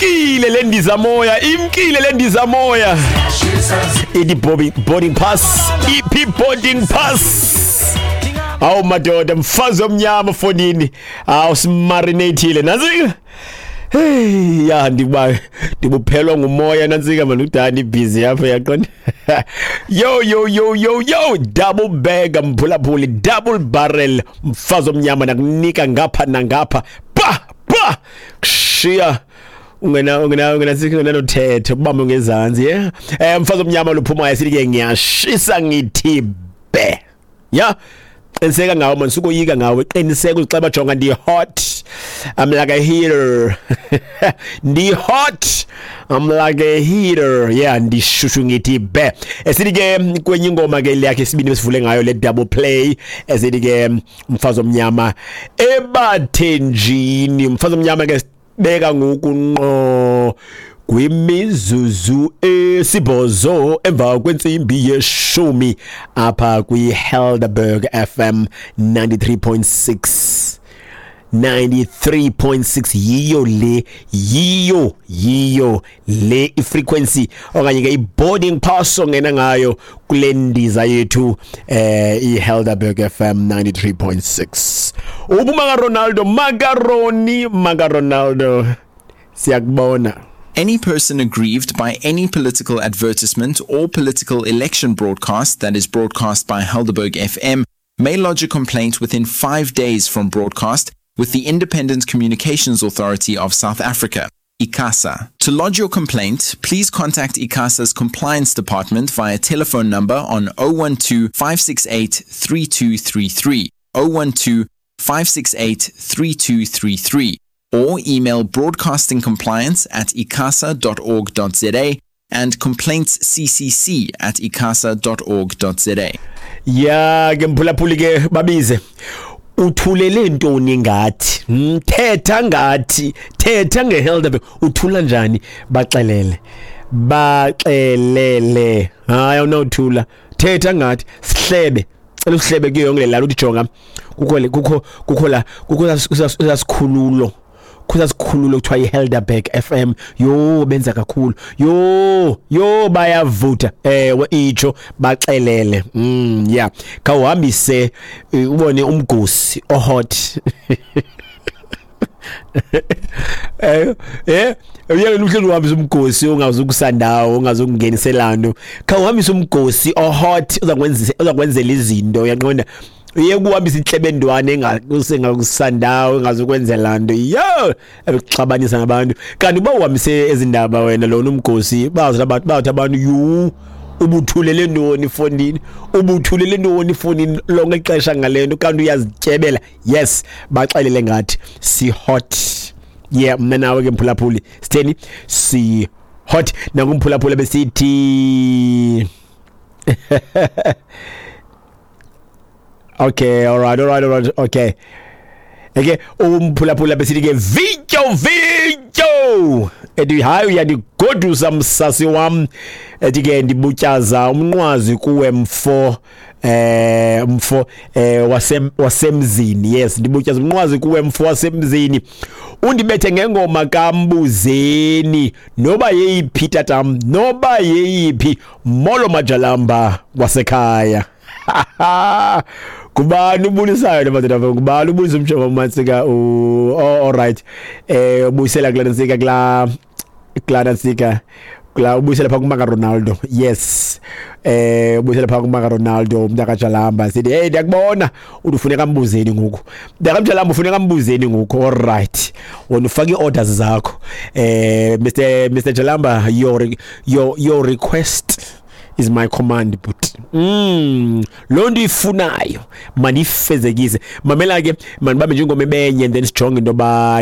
Imkile le ndiza moya, imkile le ndiza moya. Ithi boarding pass, iphi boarding pass? Awu madoda, mfazi omnyama fonini. Awu simarinatile. Nansi. Hey, ya ndiba ndibuphelwa ngumoya nantsika manje udani busy apha yaqonda. Yo yo yo yo yo, double bag mphulaphuli, double barrel mfazi omnyama nakunika ngapha nangapha. Pa pa. Kushiya ungena ungenanothetho ubambe ngezantsi, yeah. Mfazi omnyama luphumayo sithi ke ngiyashisa ngithi be. Yeah. Qiniseka ngawe man, sukoyika ngawe, qiniseka uzixeba, jonga ndi hot, I'm like a heater. Ndi hot, I'm like a heater. Yeah, ndishushu ngithi be. Esithi ke kwenye ingoma ke yakhe isibini besivule ngayo le double play, esithi ke mfazi omnyama ebathenjini. Mfazi omnyama ke beka ngoku nqo kwimizuzu 8 emva kwentsimbi 10 apha kwi-Helderberg FM 93.6. 93.6 yiyo le, yiyo le ifrequency okanye ke i-boarding pass ongena ngayo kule ndiza yethu i-Helderberg FM 93.6. Ubuma ka Ronaldo, macaroni maka Ronaldo, siyakubona. Any person aggrieved by any political advertisement or political election broadcast that is broadcast by Helderberg FM may lodge a complaint within 5 days from broadcast with the Independent Communications Authority of South Africa, ICASA. To lodge your complaint, please contact ICASA's Compliance Department via telephone number on 012 568 3233, 012 568 3233, or email broadcastingcompliance@icasa.org.za and complaintsccc@icasa.org.za. Ya ke mphulaphuli ke babize. Uthulele ntoni ngathi? Thetha ngathi, thetha ngeHelderberg. Uthula njani? Baxelele. Baxelele. Hayi awunothula. Thetha ngathi sihlebe. Cela usihlebe kuyo yonke le lala uthi jonga. Kukho kukho la kukho sasikhululo. Kuthiwa kuthiwa iHelderberg FM. Yo benza kakhulu. Yo bayavutha. Ewe itsho baxelele. Yeah. Khawuhambise ubone umgosi ohot. Uyeke uhleli uhambisa umgosi ongazukusandawo, ongazukungenisela nto. Khawuhambise umgosi ohot uzakwenzela izinto, uyaqonda? Uye kuhambisa intlebendwane engakusandawo, engazukwenzela nto. Yo, ebekuxabanisa nabantu. Kanti uba uhambise ezindaba wena lona umgosi, bazi abantu, bathi abantu yu ubuthulele ntoni efondini, ubuthulele ntoni efondini lonke ixesha ngale nto, kanti uyazityebela. Yes, baxelele ngathi si hot. Yeah, mna nawe ke mphulaphuli sitheni? Si hot. Nakumphulaphula besithi okay, all right, okay. Okay, umphulaphula besithi ke vityo vityo. Ethi hayi uyandigodusa msasi wam. Ethi ke ndibutyaza umnqwazi kuwe mfo, mfo wasemzini. Yes, ndibutyaza umnqwazi kuwe mfo wasemzini. Undibethe ngengoma kaMbuzeni noba yeyiphi tatam, noba yeyiphi. Molo majalamba wasekhaya. Kubani ubulisayo le madoda? Kubani ubulisa umjovo uMansika? All right. Ubuyisela kula Ntsika, kula Ntsika, kula ubuyisela pha kumaka Ronaldo. Yes. Ubuyisela pha kumaka Ronaldo umntaka Jalamba. Sithi hey ndiyakubona ufuneka Mbuzeni ngoku. Mntaka Jalamba ufuneka Mbuzeni ngoku. All right. Wena ufake iorders zakho. Mr Jalamba, your request is my command, but lo nto ifunayo mandifezekise. Mamela ke mandibambe nje ingoma ebenye and then sijonge into ba